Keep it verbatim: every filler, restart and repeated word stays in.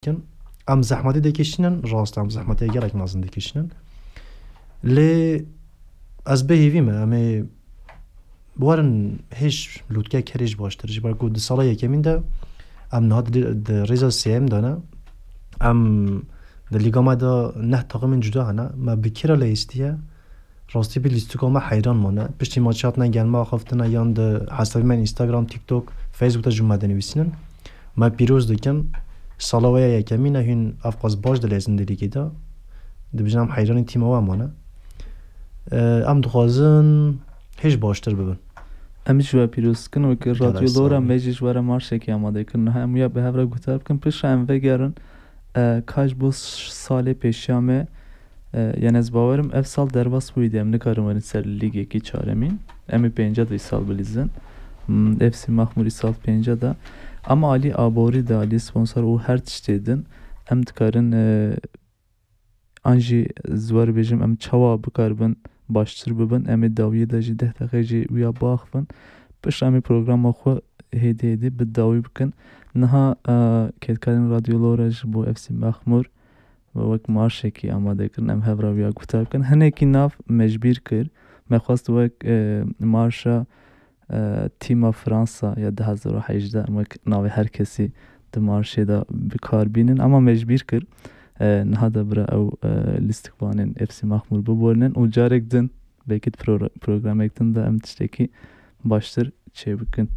dikin. Em zehmetê dikişînin, rast em zehmetê gelek mezin dikişînin. Lê ez bê hêvî me, em ê werin hêj lûtkek herî ji baştir. Ji ber ku di sala yekemîn de em niha di, di rêza sêyem de ne. Em di lîga me de neh taximên cuda hene. Me bi kira leyîstiye. Rastî bi lîstika me heyran mane. Piştî maçê hatine gel me axaftine yan di hesabê me Instagram, TikTok, Facebook de ji me dinivîsînin. Me pîroz dikin. Sala we ya yekemîn e, hûn ev qas baş dileyzin di lîgê de. Dibêjin em heyranî tîma we mane. Em dixwazin hêj baştir bibin. Em jî we pîroz dikin, wekî Gelek Radyo Lora sağ ol. Me jî ji we re marşekî amade kirin. Niha em ya bi hev re guhdar bikin, piştre em vegerin, e, ka ji bo salê pêşiya me, e, yani ez bawerim ev sal derbas bûyî de em nikarin werin ser lîgekî çaremîn. Em ê pênca de îsal bilîzin. Hmm, F C Maxmûr îsal pênca de. Ama alî aborî de, alî sponsor û her tiştê din em dikarin, e, an jî ez wer bêjim, em çawa bikaribin baştir bibin, em ê dawiyê de jî deh deqe jî wiya biaxivin. Piştre em ê programa xwe hêdî hêdî bi dawî bikin. Niha, e, kêdkarên Radyo Lora ji bo F C Maxmûr wek marşekî amade kirin, em hev re wiya guhdar bikin. Hinekî nav me ji bîr kir. Me xwest wek, e, marşa, e, tîma Fransa ya du hezar û hejdeh, em wek navê her kesî di marşê de bi kar bînin, ama me ji bîr kir. E, niha de bira ew, e, lîstikvanên F C Maxmûr biborînin û carek din belkî di pro-, programek din de em tiştekî baştir çêbikin.